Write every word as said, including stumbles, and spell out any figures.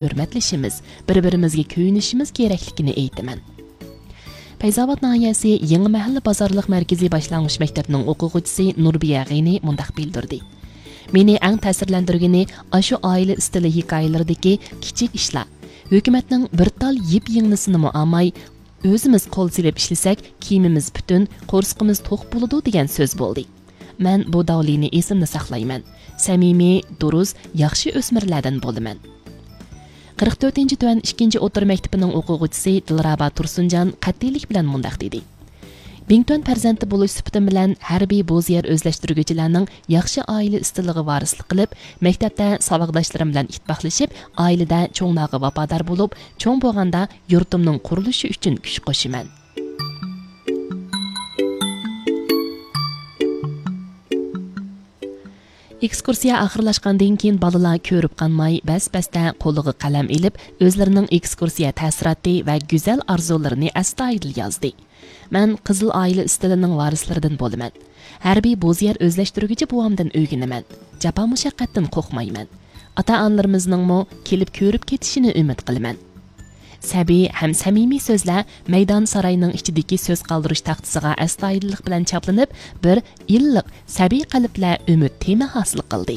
ھۆرمەتلىشىمىز، بىر-بىرىمىزگە كۆيۈنۈشىمىز كېرەكلىكىنى ئېيتىمەن. پەيزاۋات ناھىيەسى يېڭى مەھەللە بازارلىق مەركىزىي باشلانغۇچ مەكتەپنىڭ ئوقۇغۇچىسى نۇربىيە غېنى مۇنداق بىلدۈردى: مېنى ئەڭ تەسىرلەندۈرگىنى ئاشۇ ئائىلە ئىستىلى ھېكايىلىرىدىكى كىچىك ئىشلار. ھۆكۈمەتنىڭ بىر تال يىپ يىڭنىسىنىمۇ ئالماي، ئۆزىمىز قول سېلىپ ئىشلىسەك، كىيىمىمىز پۈتۈن، قورسىقىمىز توق بولىدۇ دېگەن سۆز بولدى. مەن بۇ داۋلىنى ئېسىمدە ساقلايمەن. سەمىمىي، دۇرۇس، ياخشى ئۆسمۈرلەردىن بولىمەن. قىرىق تۆتىنچى تۆۋەن ئىككىنچى ئوتتۇرا مەكتىپىنىڭ ئوقۇغۇچىسى دىلرابا تۇرسۇنجان قەتئىيلىك بىلەن مۇنداق دېدى: بىڭتۈەن پەرزەنتى بولۇش سۈپىتىم بىلەن ھەربىي بوزيەر ئۆزلەشتۈرگۈچىلەرنىڭ ياخشى ئائىلە ئىستىلىغا ۋارىسلىق قىلىپ، مەكتەپتە ساۋاقداشلىرىم بىلەن ئىتتىپاقلىشىپ، ئائىلىدە چوڭلارغا ۋاپادار بولۇپ، چوڭ بولغاندا يۇرتۇمنىڭ قۇرۇلۇشى ئۈچۈن كۈچ قوشىمەن. ئېكسكۇرسىيە ئاخىرلاشقاندىن كېيىن بالىلار كۆرۈپ قالماي، بەس-بەستە قولىغا قەلەم ئېلىپ، ئۆزلىرىنىڭ ئېكسكۇرسىيە تەسىراتى ۋە گۈزەل ئارزۇلىرىنى ئەستايىدىل يازدى. مەن قىزىل ئائىلە ئىستىلىنىڭ ۋارىسلىرىدىن بولىمەن. ھەربىي بوزيەر ئۆزلەشتۈرگۈچى بوۋامدىن ئۆگىنىمەن. جاپا مۇشەققەتتىن قورقمايمەن. ئاتا-ئانىلىرىمىزنىڭمۇ كېلىپ كۆرۈپ كېتىشىنى ئۈمىد قىلىمەن. سەبىي ھەم سەمىمىي سۆزلەر مەيدان ساراينىڭ ئىچىدىكى سۆز قالدۇرۇش تاختىسىغا ئەستايىدىللىق بىلەن چاپلىنىپ، بىر ئىللىق، سەبىي قەلبلەر ئۈمىد تېمى ھاسىل قىلدى.